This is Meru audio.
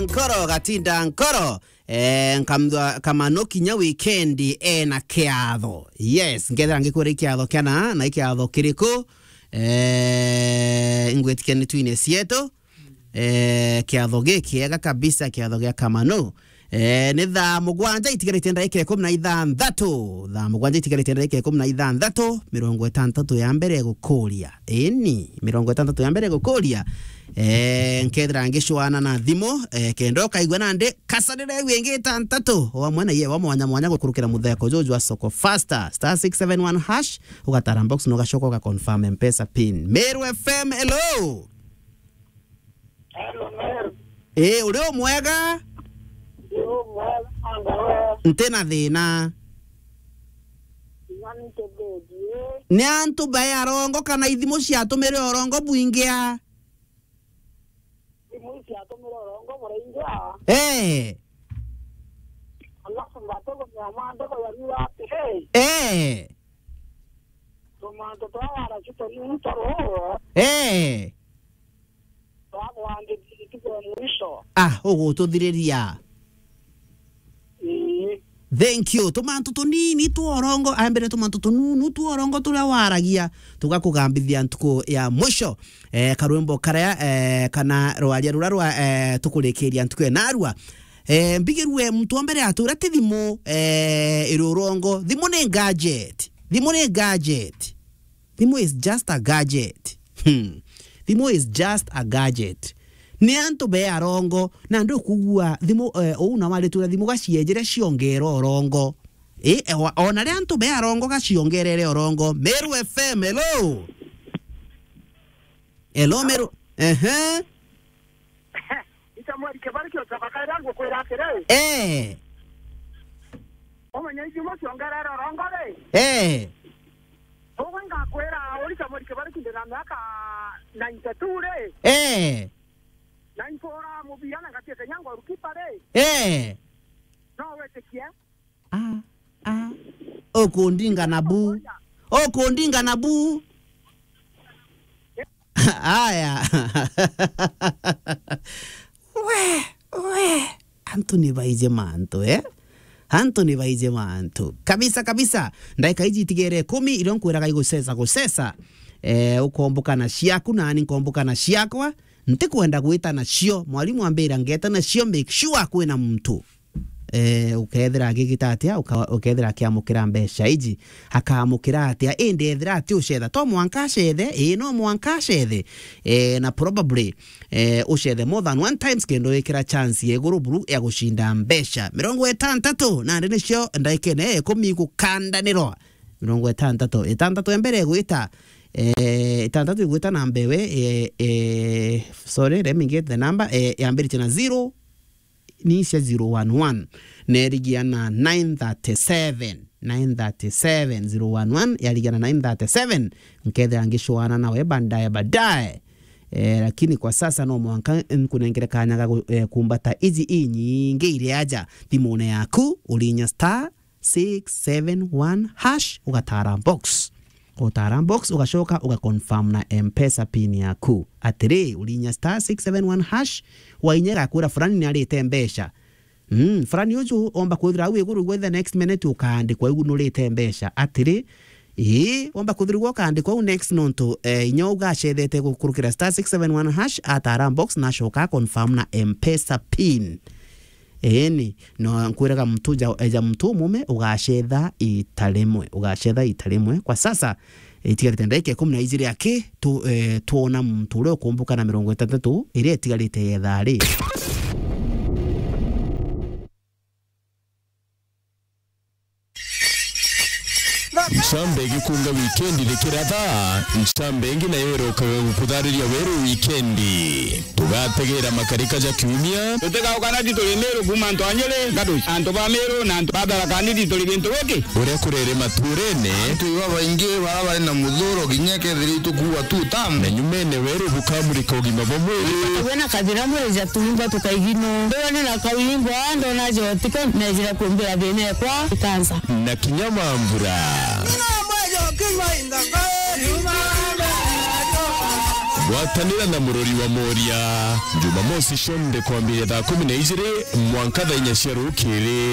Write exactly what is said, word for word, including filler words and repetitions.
Nkoro, gatinda nkoro. Eh, nkamthwa Kamano kinya weekend ena kiatho. Yes, nkethira ngikwira ikiatho kiana, na ikiatho kiriku? Eh, ingwitikia ni twine cietu. Eh, kiatho gikiega kabisa, kiatho gia Kamano. Eh, ni thaa mugwanja itigarite ndagika ikumi na ithanthatu. Thaa mugwanja itigarite ndagika ikumi na ithanthatu, mirongo itantatu ya mbere gukuria. Ini, mirongo itantatu ya mbere gukuria. Eh, nkethira ngicwana na thimu, eh, kenda ukaigua nandi kasanire wingi itantatu. Wamwe na ye wa mwanya mwanya gukurukira mutheko juju jwa soko faster. Star six seven one hash, ugatara box na ugacoka uga confirm M-Pesa pin. Meru F M, hello. Hello, Meru. Eh, uri o mwega? Ndi o mwega, anga we? Nti na thina. Inya ni ntetherie. Ni antu bae arongo kana ithimu ciatumire urongo bwingia? Thimu ciatumire urongo buraingia. Eh. Alafu ngatugumia maandiko yariuga atiri, eh, tumantu twa waraci tunini twa ruu, eh, twa kwandithia ntuku ya mwisho. Ah, ugututhiriria. Ii. Thank you. Tumantu tunini tworongo, ambire tumantu tununu tworongo turia waragia, tugakugambithia ntuku ya mwisho. Eh, karwimbo karia, eh, kana rwaria ruria rwa, eh, tukurikiria ntuku ya narua. Eh, mbigirue muntu wa mbere atura ti thimu, eh, iri urongo. Thimu ni gadget. Thimu ni gadget. Thimu is just a gadget. Hmm. Thimu is just a gadget. Ni antu be arongo, na ndukugua thimu, eh, uu na waritura thimu gacienjere ciongera urongo. Eh, ewa, ona ri antu be arongo gaciongerere urongo. Meru F M, hello. Hello, Meru. Ehe. Ita mweri kibari kio coka kaira ngukwira atiri. Eh. Umenye ithimo ciongerere urongo ri. Eh. Ugu ngakwira, uri ta mweri kibari kinde na miaka ninety-two ri. Eh. Na nkuura mubira na ngatia kenya ngoru kipa ri. Eh. No witikie? Ah, ah. Ukundinga na bu. Ukundinga na bu. Aya. We, we. Antu ni baije mantu, eh? Antu ni baije mantu. Kabisa, kabisa. Ndaika iji itigere ikumi, irio nkwiraga igusesa, gusesa. Eh, ukomboka na ciaku, nani nkomboka na ciakwa. Ntikwenda gwita nacio. Mwalimu ambira ngeta nacio, make sure kwina muntu. Eh, ukethira agigita atia, uka-, ukethira akiamukira mbeca iji, akaamukira atia? Indi ethira ati ucetha, to mwanka acethe, ii, no mwanka acethe. Eh, na probably, eh, ucethe more than one times kenda wikira chance ya iguru buru ya gucinda mbeca. Mirongo itantatu, nandi nicio ndaikene ikumi gukandanirwa. Mirongo itantatu. Itantatu ya mbere igwita, eh, itantatu igwita na mbewe, eh, eh, sorry, let me get the number, eh, yambiritie na zero, ni cia zero one one, na irigia na nine thirty-seven, nine thirty-seven, zero one one, yarigia na nine thirty-seven, nkethira ngicwana nawe baadaye, baadaye. Eh, lakini kwa sasa no mwanka nkunengere kanya ga gu-, eh, kumbata iji inyingi iri aja thimune yaku, urinya star six seven one hash, ugatara box. Utara box, ugacoka ugaconfirm na M-Pesa pin yaku. Atiri, urinya star six seven one hash, wainya igakwira fulani ni arite mbeca. Mm, fulani uju omba kwithira au iguru gwe, the next minute ukaandikwa igu nurite mbeca. Atiri, ii, omba kwithirwa ukaandikwa au next nontu, eh, inya ugacethete gukurukira star six seven one hash, atara box na acoka confirm na M-Pesa pin. Eeni, no nkwiraga muntu ja, eja muntu umume ugacetha ita rimwe, ugacetha ita rimwe. Kwa sasa, itigarite ndagika ikumi na ijiri aki, tu, eh, twona muntu uria ukumbuka na mirongo itantatu iria itigarite yetha ri. Ncambe igikunga wikendi rikiratha, ncambe ingi nayo irokaga gukuthariria weru wikendi. Tugategera makarika ja kiumia. Tutigaukana ti turi Miru kuuma antu a Nyeri, Gaduci, antu ba Miru na antu ba Tharaka Nithi turi gintu giki. Uria kurere maturene. Antu iba baingi bara bari na muthuro kinya kethira itukuua tu tam. Na nyumene weru bukamurika ugima bwa mwiri. Wena kathira mwiri ja tuimba tukaigino. Ndona na kauimbo, ndona jotiko, nejira kumbira thina ekwa ikansa. Na kinya mambura. Gwatanira na Murori wa Moria, Jumamosi cionthe kwambiria thaa kumi na ijiri mwanka thaa inya cia rukiri.